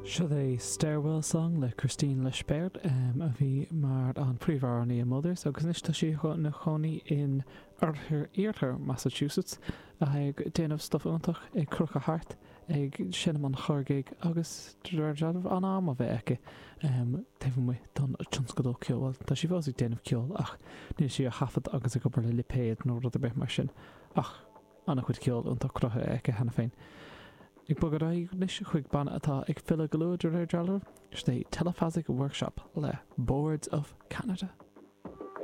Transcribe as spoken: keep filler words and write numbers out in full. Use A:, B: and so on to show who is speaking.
A: Seo é Stairwell Song le Christine Lespert um, a bhí mar an príomhamhránaí i Mothers agus anois tá sí ina cónaí in oirthear iarthar Massachusetts ag déanamh stuff iontach ag crochadh thart ag seinm an chorrghig agus an am a bheith aici um, taobh amuigh don tionscadal ceoil. Tá sí fós ag déanamh ceoil ach níl sí á thaifead agus ag obair le lipéad nó rud ar bith mar sin ach an-chuid ceoil iontach cruthaithe aici cheana féin. Ag bogadh anois chuig banna atá ag filleadh go luath de réir dealraimh, sé Telephasic Workshop le Boards of Canada.